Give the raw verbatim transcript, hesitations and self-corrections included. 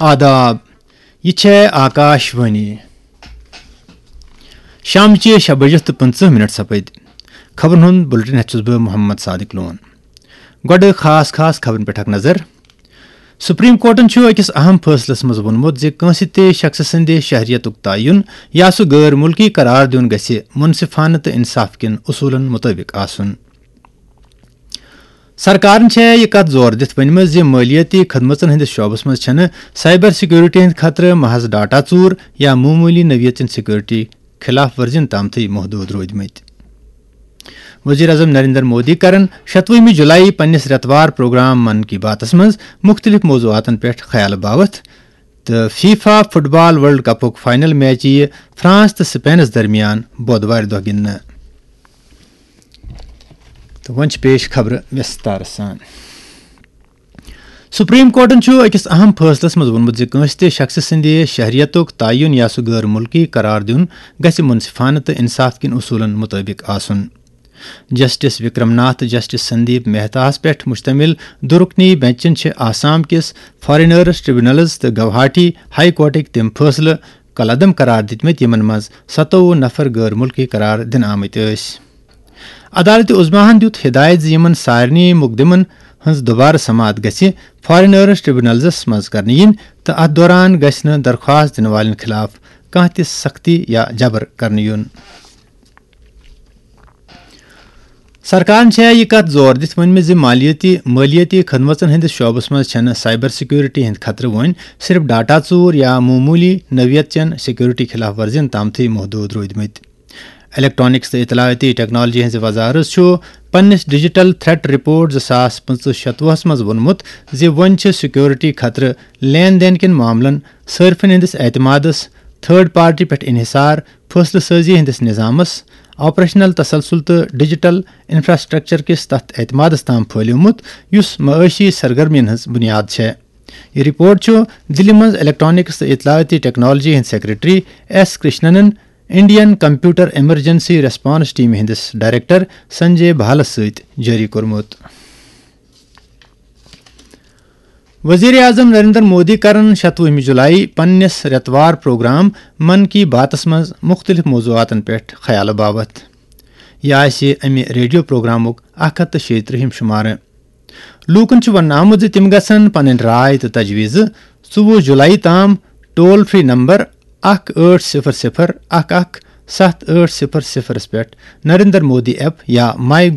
آداب، یہِ چھےٚ آکاش وانی۔ شامچہِ شےٚ بجہِ تہٕ پٕنٛژٕہ منٹ سپٕدۍ۔ خبرن ہُنٛد بُلٹن ہٮ۪تھ چھُس بہٕ محمد صادق لون۔ گۄڈٕ خاص خاص خبرن پٮ۪ٹھ اکھ نظر۔ سپریم کورٹن چھُ أکِس اہم فٲصلس منٛز ووٚنمُت زِ کٲنٛسہِ تہِ شخصہٕ سٕنٛدِ شہریتُک تعین یا سُہ غٲر مُلکی قرار دیُن گژھِ منصفانہٕ تہٕ انصاف کٮ۪ن اصوٗلن مُطٲبِق آسُن۔ سرکارن چھےٚ یہِ کتھ زور دِتھ ؤنمٕژ زِ مٲلیٲتی خدمژن ہٕنٛدِس شعبس منٛز چھَنہٕ سائبر سیکورٹی ہٕنٛدِ خطرٕ محض ڈاٹا ژوٗر یا معموٗلی نوعیت چٮ۪ن سیکورٹی خلاف ورزین تامتھٕے محدوٗد روٗدمٕتۍ۔ وزیر اعظم نریندر مودی کرن شتوُہمہِ جولائی پننِس رٮ۪توار پروگرام من کی باتس منٛز مُختٔلِف موضوعاتن پٮ۪ٹھ خیال باوتھ، تہٕ فیفا فٹ بال ورلڈ کپُک فائنل میچ یِیہِ فرانس تہٕ سپینس درمیان بۄدوارِ دۄہ گِنٛدنہٕ۔ تہٕ وۄنۍ چھِ پیش خبرٕ وِستارٕ سان۔ سپریم کورٹن چھُ أکِس اہم فٲصلس منٛز ووٚنمُت زِ کٲنٛسہِ تہِ شخصہٕ سٕنٛدِ شہریتُک تعین یا سُہ غٲر مُلکی قرار دیُن گژھِ منصفانہٕ تہٕ انصاف کٮ۪ن اصوٗلن مُطٲبِق آسُن۔ جسٹس وکرم ناتھ تہٕ جسٹس سندیپ مہتاہَس پٮ۪ٹھ مشتمل دُرکنی بینچن چھِ آسام کِس فارینرز ٹریبونلز تہٕ گوہاٹی ہائی کورٹٕکۍ تِم فٲصلہٕ کالعدم قرار دِتمٕتۍ، یِمن منٛز ستووُہ نفر غٲر مُلکی قرار دِنہٕ آمٕتۍ ٲسۍ۔ عدالت عظمیٰ ہَن دیُت ہدایت زِ یِمَن سارنٕے مقدمن ہٕنٛز دوبارٕ سماعت گژھِ فارینرز ٹریبونلزس منٛز کرنہٕ یِنۍ تہٕ اتھ دوران گژھِ نہٕ درخواست دِنہٕ والٮ۪ن خلاف کانٛہہ تہِ سختی یا جبر کرنہٕ یُن۔ سرکارن چھےٚ یہِ کتھ زور دِتھ ؤنمٕژ زِ مالیٲتی مٲلیٲتی خدمژن ہٕنٛدِس شعبس منٛز چھَنہٕ سائبر سیکورٹی ہٕنٛدۍ خطرٕ وۄنۍ صرف ڈاٹا ژوٗر یا معموٗلی نوعیت چٮ۪ن سیکورٹی خلاف ورزین تامتھٕے محدوٗد روٗدمٕتۍ۔ الیکٹرانکس تہٕ اطلاعاتی ٹیکنالوجی ہٕنٛزِ وزارت چھُ پننِس ڈیجیٹل تھریٹ رپورٹ زٕ ساس پٕنٛژٕہ شتوُہس منٛز ووٚنمُت زِ وۄنۍ چھِ سیکورٹی خطرٕ لین دین کٮ۪ن معاملن، صارفین ہٕنٛدِس اعتمادس، تھرڈ پارٹی پٮ۪ٹھ انحصار، فٲصلہٕ سٲزی ہٕنٛدِس نظامس، آپریشنل تسلسل تہٕ ڈیجیٹل انفراسٹرکچر کِس تتھ اعتمادس تام پھٲلیومُت یُس معاشی سرگرمین ہٕنٛز بنیاد چھےٚ۔ یہِ رپورٹ چھُ دِلہِ منٛز الیکٹرانکس تہٕ اطلاعاتی ٹیکنالوجی ہٕنٛدۍ سیکرٹری ایس کرشننن انڈین کمپیوٹر ایمرجنسی ریسپانس ٹیمہِ ہٕنٛدِس ڈائریکٹر سنجے بھالس سۭتۍ جٲری کوٚرمُت۔ وزیر اعظم نریندر مودی کرن شتوُہمہِ جولائی پننِس رٮ۪توار پروگرام من کی باتس منٛز مُختٔلِف موضوعاتن پٮ۪ٹھ خیال باوتھ۔ یہِ آسہِ امہِ ریڈیو پروگرامُک اکھ ہتھ تہٕ شیٚیہِ ترٕٛہِم شمارٕ۔ لوٗکن چھُ وننہٕ آمُت زِ تِم گژھن پنٕنۍ راے تہٕ تجویزٕ ژوٚوُہ جولائی تام ٹول فری نمبر اکھ ٲٹھ صفر صفر اکھ اکھ ستھ ٲٹھ صفر صفرس پٮ۪ٹھ نریندر مودی ایپ یا مائی